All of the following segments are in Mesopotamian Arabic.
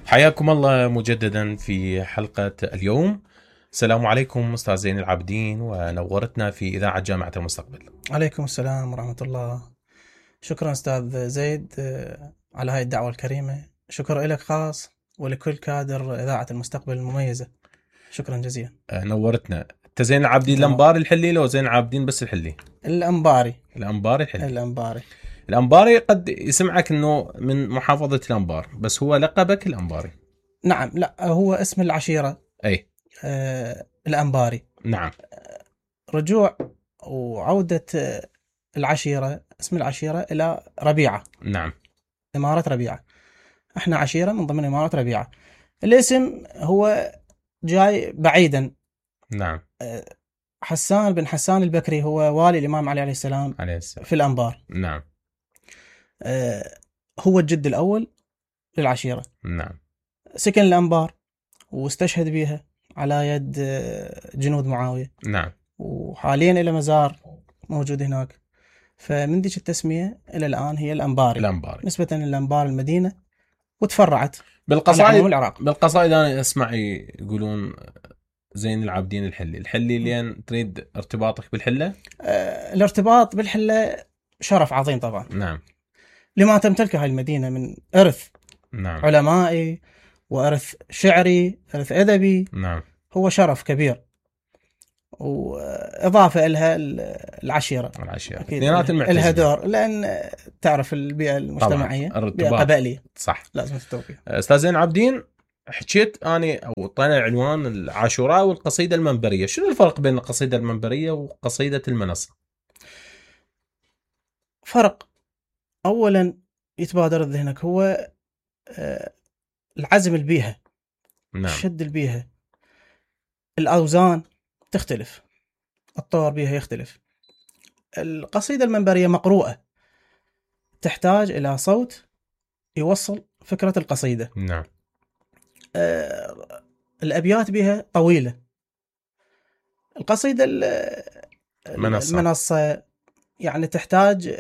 حياكم الله مجددا في حلقة اليوم. السلام عليكم أستاذ زين العابدين، ونورتنا في إذاعة جامعة المستقبل. عليكم السلام ورحمة الله. شكرا أستاذ زيد على هاي الدعوة الكريمة. شكرا لك خاص ولكل كادر إذاعة المستقبل المميزة. شكرا جزيلا. نورتنا. أنت زين العابدين الأنباري الحلي لو زين العابدين بس الحلي؟ الأنباري الحلي. الأنباري قد يسمعك أنه من محافظة الأنبار، بس هو لقبك الأنباري. نعم، لا هو اسم العشيرة. أي الأنباري. نعم. رجوع وعودة العشيرة، اسم العشيرة إلى ربيعة. نعم. إمارة ربيعة. احنا عشيرة من ضمن إمارة ربيعة. الاسم هو جاي بعيدا. نعم. حسان بن حسان البكري هو والي الإمام علي عليه السلام في الأنبار. نعم. هو الجد الأول للعشيرة. نعم. سكن الأنبار واستشهد بها على يد جنود معاوية. نعم. وحاليا إلى مزار موجود هناك، فمن ديك التسمية إلى الآن هي الأنباري. نسبة للأنبار المدينة، وتفرعت بالقصائد أنا أسمع يقولون زين العابدين الحلي لين تريد ارتباطك بالحلة. الارتباط بالحلة شرف عظيم طبعا. نعم. لما تمتلكه هاي المدينة من إرث. نعم. علمائي وإرث شعري، إرث أدبي. نعم. هو شرف كبير، وإضافة إلها العشيرة إلها دور، لأن تعرف البيئة المجتمعية بيئة قبائلية. صح، لازم تتوقع. أستاذ زين العابدين، حكيت أنا أو طينا العنوان العاشوراء والقصيدة المنبرية. شنو الفرق بين القصيدة المنبرية وقصيدة المنصة؟ فرق أولا يتبادر ذهنك هو العزم البيها. نعم. شد البيها، الأوزان تختلف، الطور بيها يختلف. القصيدة المنبرية مقروءة، تحتاج إلى صوت يوصل فكرة القصيدة. نعم. الأبيات بها طويلة. القصيدة المنصة يعني تحتاج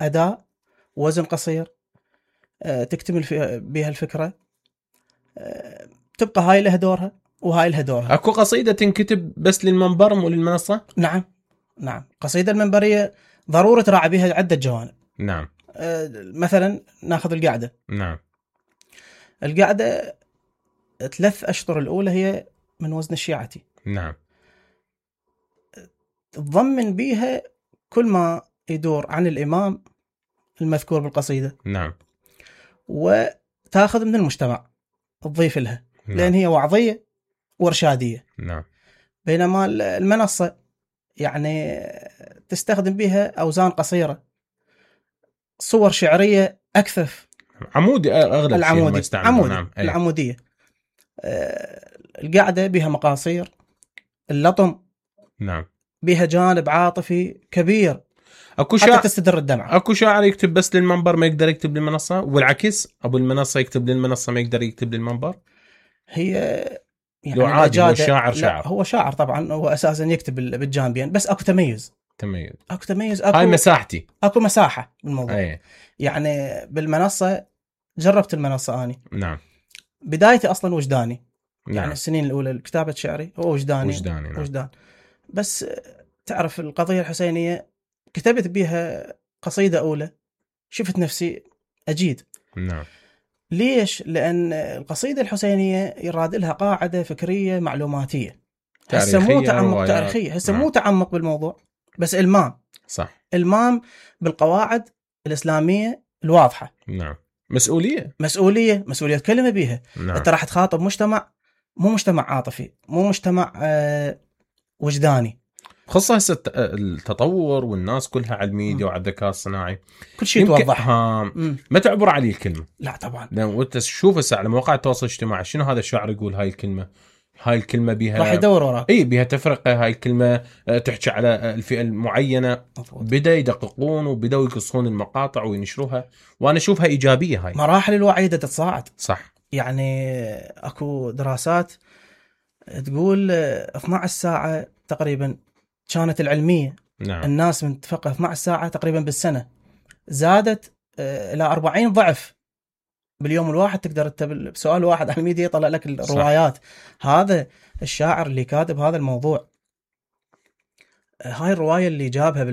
أداء وزن قصير، تكتمل بها الفكرة. تبقى هاي لها دورها وهاي لها دورها. أكو قصيدة تنكتب بس للمنبر مو للمنصة؟ نعم. قصيدة المنبرية ضرورة تراعي بها عدة جوانب. نعم. مثلا ناخذ القعدة. نعم. القعدة 3 أشطر الأولى هي من وزن الشيعتي. نعم. تضمن بيها كل ما يدور عن الإمام المذكور بالقصيدة. نعم. وتأخذ من المجتمع تضيف لها. نعم. لأن هي وعظية وإرشادية. نعم. بينما المنصة يعني تستخدم بها أوزان قصيرة، صور شعرية أكثف، عمودي أغلب شيء ما يستعمل. نعم. العمودية. القعدة بها مقاصير، اللطم. نعم. بها جانب عاطفي كبير، حتى تستدر الدمعة. أكو شاعر يكتب بس للمنبر ما يقدر يكتب للمنصة، والعكس أبو المنصة يكتب للمنصة ما يقدر يكتب للمنبر. هي يعني لو عادي هو شاعر هو شاعر طبعا، هو أساسا يكتب بالجانبين، بس أكو تميز. هاي مساحتي، أكو مساحة بالموضوع. يعني بالمنصة جربت المنصة أني. نعم. بدايتي أصلا وجداني. نعم. يعني السنين الأولى كتابة شعري هو وجداني. نعم. وجدان. بس تعرف القضية الحسينية كتبت بها قصيدة أولى، شفت نفسي أجيد. نعم. ليش؟ لأن القصيدة الحسينية يراد لها قاعدة فكرية معلوماتية، هسه مو تعمق تاريخية، هسه مو تعمق بالموضوع، بس إلمام. صح. إلمام بالقواعد الإسلامية الواضحة. نعم. مسؤولية كلمة بيها. نعم. أنت راح تخاطب مجتمع، مو مجتمع عاطفي، مو مجتمع وجداني. خصوصا هسه التطور والناس كلها على الميديا وعلى الذكاء الصناعي، كل شيء توضح. ما تعبر عليه الكلمة. لا طبعا. وانت تشوف هسه على مواقع التواصل الاجتماعي شنو هذا الشاعر يقول هاي الكلمة بيها راح يدور وراك. بيها تفرقة، هاي الكلمة تحكي على الفئة المعينة. بدأ يدققون وبدأوا يقصون المقاطع وينشروها، وانا اشوفها ايجابية. هاي مراحل الوعي تتصاعد. صح. يعني اكو دراسات تقول 12 ساعة تقريبا كانت العلمية. نعم. الناس من تفقه 12 ساعة تقريبا بالسنة، زادت إلى 40 ضعف باليوم الواحد تقدر انت بسؤال واحد على الميديا يطلع لك الروايات. هذا الشاعر اللي كاتب هذا الموضوع، هاي الرواية اللي جابها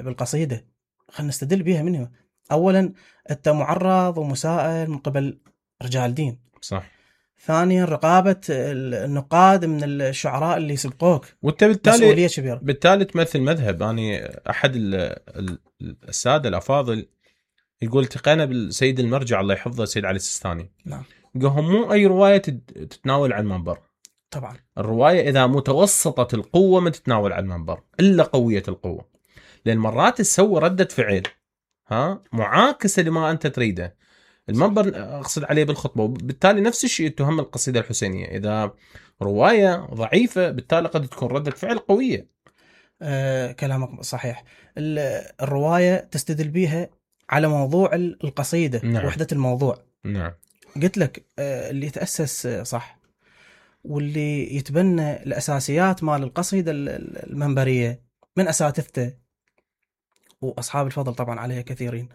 بالقصيدة، خلينا نستدل بيها منه. اولا انت معرض ومسائل من قبل رجال دين، صح. ثانيا رقابة النقاد من الشعراء اللي سبقوك، وانت مسؤولية كبيرة. بالتالي تمثل مذهب. يعني احد السادة الافاضل يقول التقينا بالسيد المرجع الله يحفظه السيد علي السيستاني. نعم. يقول مو اي رواية تتناول على المنبر. طبعا الرواية اذا متوسطة القوة ما تتناول على المنبر الا قوية القوة، لان مرات تسوي ردة فعل معاكسة لما انت تريده. المنبر اقصد عليه بالخطبة. وبالتالي نفس الشيء تهم القصيدة الحسينية، اذا رواية ضعيفة بالتالي قد تكون ردة فعل قوية. كلامك صحيح. الرواية تستدل بيها على موضوع القصيدة. نعم. وحدة الموضوع. نعم. قلت لك اللي يتأسس صح واللي يتبنى الأساسيات مال القصيدة المنبرية من أساتذته وأصحاب الفضل طبعا عليها كثيرين،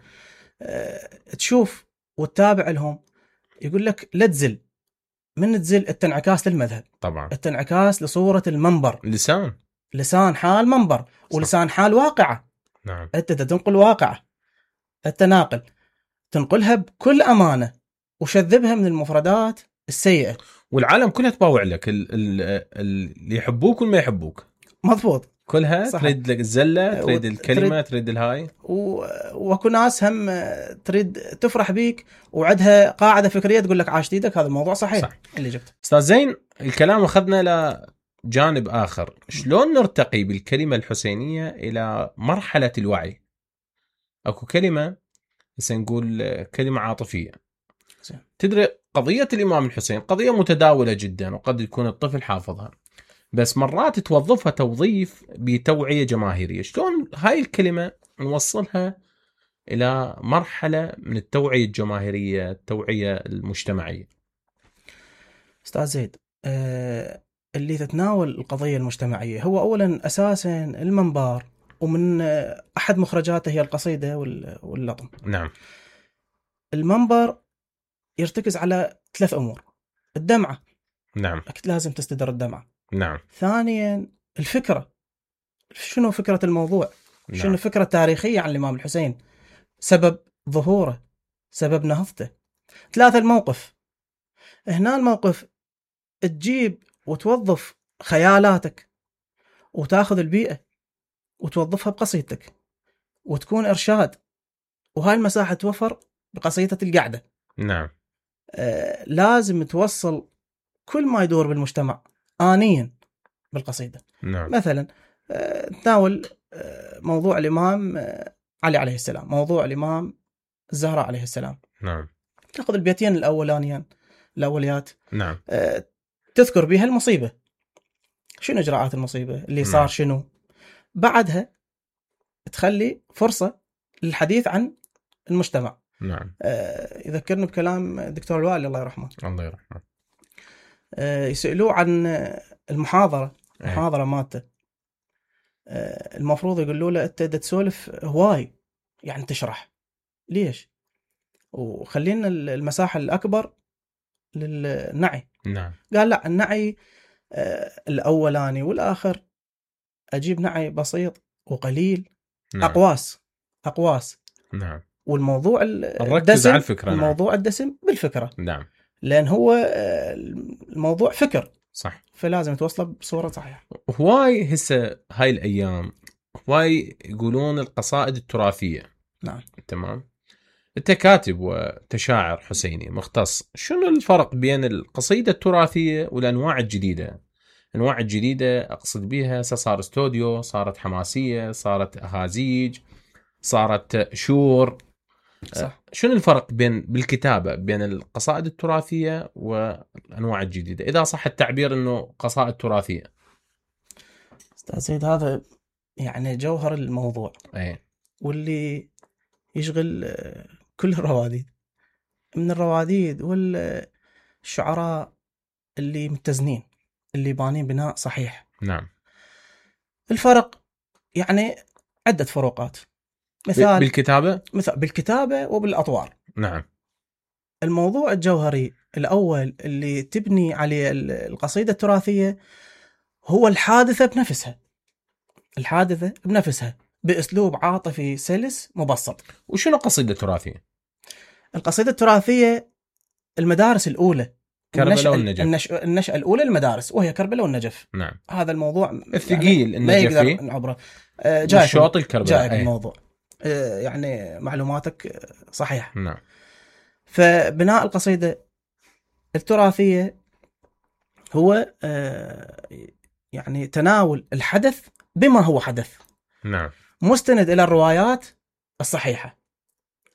تشوف وتتابع لهم، يقول لك لا تزل، من تزل التنعكاس للمذهب، طبعا التنعكاس لصورة المنبر، لسان حال منبر ولسان حال واقعة. نعم. أنت تنقل واقعة، التناقل تنقلها بكل أمانة وشذبها من المفردات السيئة، والعالم كلها تباوع لك، اللي يحبوك والما يحبوك. مضبوط. كلها صحيح. تريد لك الزلة، تريد الكلمة، تريد الهاي، وكل ناس هم تريد تفرح بيك وعدها قاعدة فكرية تقول لك عاش ايدك. هذا الموضوع صحيح. صح. اللي جبت أستاذ زين، الكلام أخذنا لجانب آخر. شلون نرتقي بالكلمة الحسينية إلى مرحلة الوعي؟ أكو كلمة نقول كلمة عاطفية. تدري قضية الإمام الحسين قضية متداولة جدا، وقد يكون الطفل حافظها، بس مرات توظفها توظيف بتوعية جماهيرية. شلون هاي الكلمة نوصلها إلى مرحلة من التوعية الجماهيرية، التوعية المجتمعية؟ أستاذ زيد، اللي تتناول القضية المجتمعية هو أولا أساسا المنبر، ومن أحد مخرجاته هي القصيدة واللطم. نعم. المنبر يرتكز على 3 أمور. الدمعة. نعم. أكيد لازم تستدر الدمعة. نعم. ثانيا الفكرة، شنو فكرة الموضوع؟ نعم. شنو فكرة تاريخية عن الإمام الحسين، سبب ظهوره، سبب نهضته. 3 الموقف. هنا الموقف تجيب وتوظف خيالاتك وتاخذ البيئة وتوظفها بقصيدتك وتكون إرشاد، وهاي المساحة توفر بقصيدة القعدة. نعم. لازم توصل كل ما يدور بالمجتمع آنيا بالقصيدة. نعم. مثلا تناول موضوع الإمام علي عليه السلام، موضوع الإمام الزهراء عليه السلام. نعم. تأخذ البيتين الأوليات. نعم. تذكر بها المصيبة، شنو إجراءات المصيبة اللي صار. نعم. شنو بعدها تخلي فرصة للحديث عن المجتمع. نعم. يذكرني بكلام الدكتور الوالي الله يرحمه. الله يرحمه. يسألوه عن المحاضرة مالته. المفروض يقولوا له أنت تسولف هواي، يعني تشرح ليش، وخلينا المساحة الأكبر للنعي. نعم. قال لا، النعي الأولاني والآخر أجيب نعي بسيط وقليل. نعم. أقواس. نعم. والموضوع الدسم على الفكرة. الموضوع نعم. الدسم بالفكرة. نعم. لأن هو الموضوع فكر. صح. فلازم توصله بصورة صحيحة. هواي هسه هاي الأيام هواي يقولون القصائد التراثية. نعم. تمام. أنت كاتب وتشاعر حسيني مختص، شنو الفرق بين القصيدة التراثية والأنواع الجديدة؟ أنواع الجديدة أقصد بها صار استوديو، صارت حماسية، صارت أهازيج، صارت شور. صح. شنو الفرق بالكتابة بين القصائد التراثية والأنواع الجديدة، إذا صح التعبير أنه قصائد تراثية؟ أستاذ سيد، هذا يعني جوهر الموضوع. أي. واللي يشغل كل الرواديد، من الرواديد والشعراء اللي متزنين، اللي بانين بناء صحيح. نعم. الفرق يعني عدة فروقات. مثال بالكتابة، بالكتابة وبالأطوار. نعم. الموضوع الجوهري الأول اللي تبني عليه القصيدة التراثية هو الحادثة بنفسها، الحادثة بنفسها بأسلوب عاطفي سلس مبسط. وشنو قصيدة تراثية؟ القصيدة التراثية المدارس الأولى، كربلاء والنجف. النشأة الأولى المدارس وهي كربلاء والنجف. نعم. هذا الموضوع الثقيل يعني ما يقدر النجفي نعبره. الشوط الكربلاء. جاي الموضوع يعني معلوماتك صحيحة. نعم. فبناء القصيدة التراثية هو يعني تناول الحدث بما هو حدث. نعم. مستند إلى الروايات الصحيحة.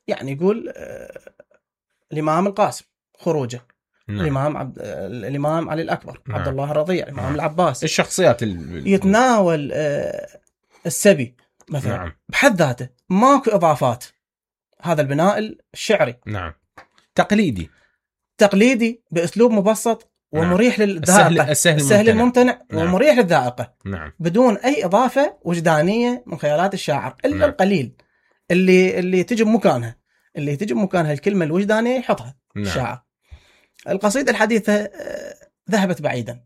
يعني يقول الإمام القاسم خروجه. نعم. الإمام علي الأكبر. نعم. عبد الله الرضيع. الإمام نعم. العباس. الشخصيات يتناول السبي مثلا. نعم. بحد ذاته ماكو إضافات. هذا البناء الشعري. نعم. تقليدي بأسلوب مبسط ومريح للذائقة. السهل الممتنع. نعم. ومريح للذائقة. نعم. بدون أي إضافة وجدانية من خيالات الشاعر إلا نعم. القليل اللي تجي بمكانها، الكلمة الوجدانية يحطها. نعم. الشاعر. القصيدة الحديثة ذهبت بعيدا.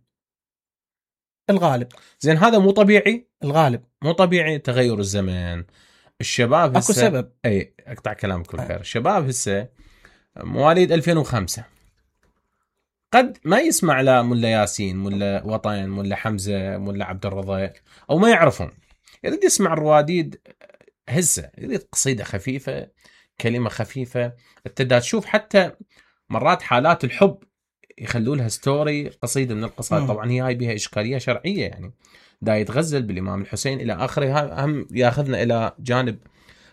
الغالب زين هذا مو طبيعي. الغالب مو طبيعي. تغير الزمان، الشباب هسه اكو سبب. اي اقطع كلامك كل خير. الشباب هسه مواليد 2005 قد ما يسمع لا ملا ياسين، ملا وطن، ملا حمزة، ملا عبد الرضا، او ما يعرفهم. يريد يسمع الرواديد هسه، يريد قصيدة خفيفة، كلمة خفيفة. انت تشوف حتى مرات حالات الحب يخلوا لها ستوري قصيدة من القصائد. طبعا هي هاي بها إشكالية شرعية، يعني دا يتغزل بالإمام الحسين إلى آخره. هم ياخذنا إلى جانب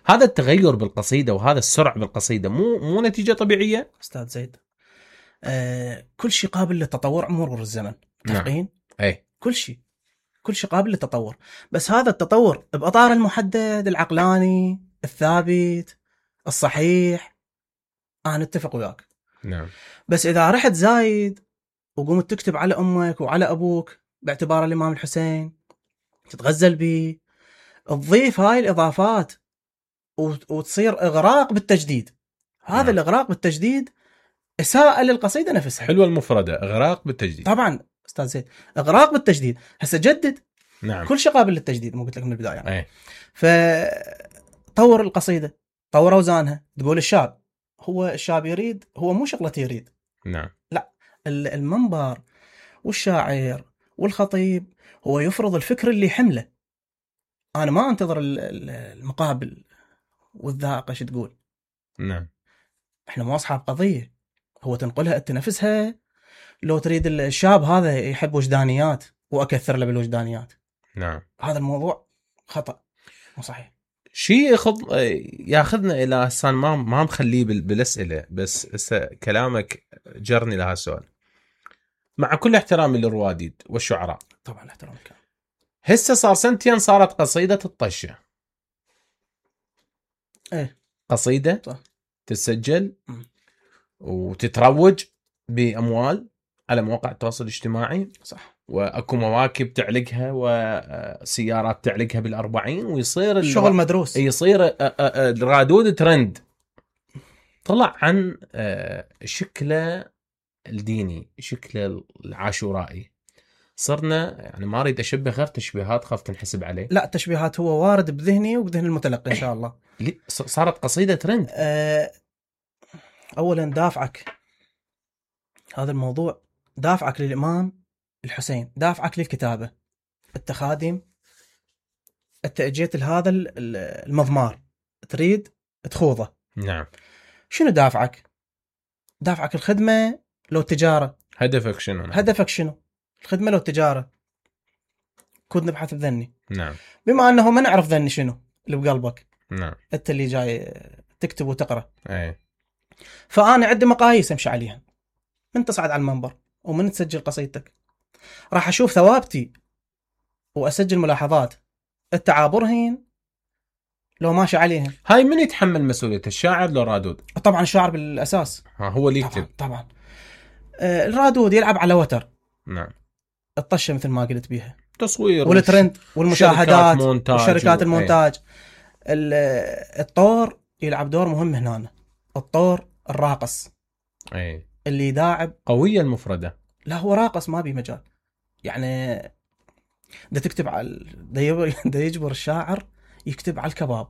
هذا التغير بالقصيدة وهذا السرعة بالقصيدة مو نتيجة طبيعية. أستاذ زيد كل شيء قابل للتطور مرور الزمن. متفقين؟ نعم. أي كل شيء قابل للتطور، بس هذا التطور بأطار المحدد العقلاني الثابت الصحيح. أنا أتفق وياك. نعم. بس إذا رحت زايد وقمت تكتب على أمك وعلى أبوك باعتبار الإمام الحسين، تتغزل به، تضيف هاي الإضافات وتصير إغراق بالتجديد. هذا الإغراق بالتجديد إساءة للقصيدة نفسها. حلوة المفردة، إغراق بالتجديد. طبعا أستاذ زيد، إغراق بالتجديد. هسه جدد. نعم. كل شيء قابل للتجديد، مو قلت لك من البداية يعني. أي. فطور القصيدة، طور أوزانها. تقول الشاب يريد، هو مو شغلة يريد. نعم. لا، المنبر والشاعر والخطيب هو يفرض الفكر اللي يحمله. أنا ما أنتظر المقابل والذائقة شو تقول. نعم. إحنا مو أصحاب قضية. هو تنقلها أنت نفسها. لو تريد الشاب هذا يحب وجدانيات وأكثر له بالوجدانيات. نعم. هذا الموضوع خطأ، مو صحيح. شيء ياخذنا إلى هسان ما مخليه بالأسئلة، بس هسه كلامك جرني لها السؤال. مع كل احترامي للرواديد والشعراء، طبعا احترامك، هسه صار سنتين صارت قصيدة الطشة. ايه قصيدة صح. تسجل وتتروج بأموال على مواقع التواصل الاجتماعي. صح. واكو مواكب تعلقها وسيارات تعلقها بالأربعين، ويصير الشغل مدروس، يصير الرادود ترند. طلع عن شكله الديني، شكله العاشورائي. صرنا يعني ما اريد اشبه غير تشبيهات، خاف تنحسب عليه. لا، تشبيهات هو وارد بذهني وبذهن المتلقي ان شاء الله. صارت قصيدة ترند. اولا دافعك هذا الموضوع، دافعك للإمام الحسين، دافعك للكتابة. انت خادم، انت اجيت لهذا المضمار تريد تخوضه. نعم. شنو دافعك؟ دافعك الخدمة لو التجارة؟ هدفك شنو؟ نعم. هدفك شنو؟ الخدمة لو التجارة؟ كنت نبحث بذني. نعم. بما أنه ما نعرف ذني شنو اللي بقلبك. نعم. أنت اللي جاي تكتب وتقرأ. أي. فأنا عندي مقاييس أمشي عليها. من تصعد على المنبر ومن تسجل قصيدتك، راح أشوف ثوابتي وأسجل ملاحظات. التعابرهن لو ماشي عليهم. هاي من يتحمل مسؤولية، الشاعر لو رادود؟ طبعا الشاعر بالأساس. هو اللي يكتب. طبعا. الرادود يلعب على وتر. نعم. الطشة مثل ما قلت بيها، تصوير والترند والمشاهدات وشركات المونتاج. الطور يلعب دور مهم هنا. الطور الراقص اي اللي داعب قويه المفرده. لا هو راقص ما بي مجال يعني. دا تكتب على دا يجبر الشاعر يكتب على الكباب،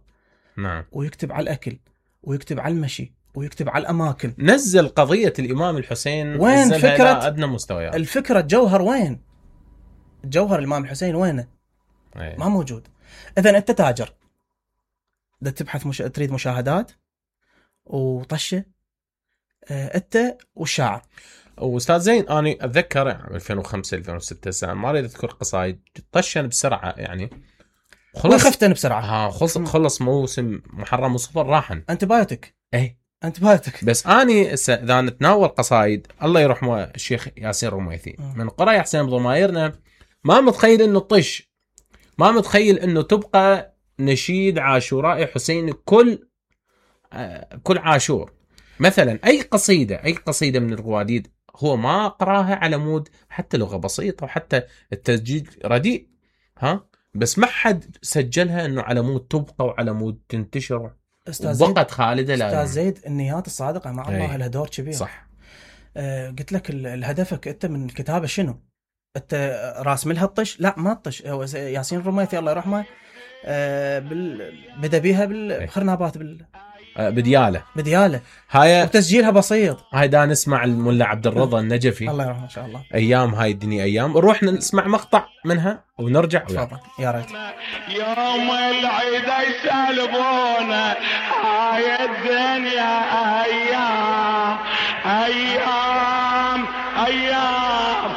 نعم، ويكتب على الاكل، ويكتب على المشي، ويكتب على الاماكن. نزل قضيه الامام الحسين، وين نزلها فكرة الى ادنى مستويات. الفكره الجوهر وين؟ الجوهر الامام الحسين وينه؟ أي. ما موجود. اذا انت تاجر دا تبحث تريد مشاهدات وطشه، انت والشاعر. واستاذ زين انا اتذكر 2005 2006 سنه، ما اريد اذكر قصايد طشن بسرعه يعني، وخفتن بسرعه. خلص موسم محرم وصفر راحن انتبايوتك. اي انتبايوتك. بس اني اذا نتناول قصايد الله يرحمه الشيخ ياسين رميثي من قرى حسين بضمايرنا، ما متخيل انه طش، ما متخيل انه تبقى نشيد عاشوراء حسين كل عاشور مثلا. اي قصيده من الرواديد هو ما قراها على مود حتى لغه بسيطه وحتى التسجيل رديء، بس ما حد سجلها انه على مود تبقى وعلى مود تنتشر وبقت خالده. استاذ زيد النيات الصادقه مع الله لها دور كبير. صح. قلت لك الهدفك انت من الكتابه شنو؟ انت راسم لها الطش؟ لا ما الطش. ياسين الرميثي الله يرحمه بدا بيها بالخرنابات بدياله هاي، وتسجيلها بسيط. هاي دا نسمع الملا عبد الرضا النجفي الله يرحمه ان شاء الله، ايام هاي الدنيا ايام. نروح نسمع مقطع منها ونرجع. تفضل يا ريت. يوم العيد يسلبونا هاي الدنيا ايام ايام ايام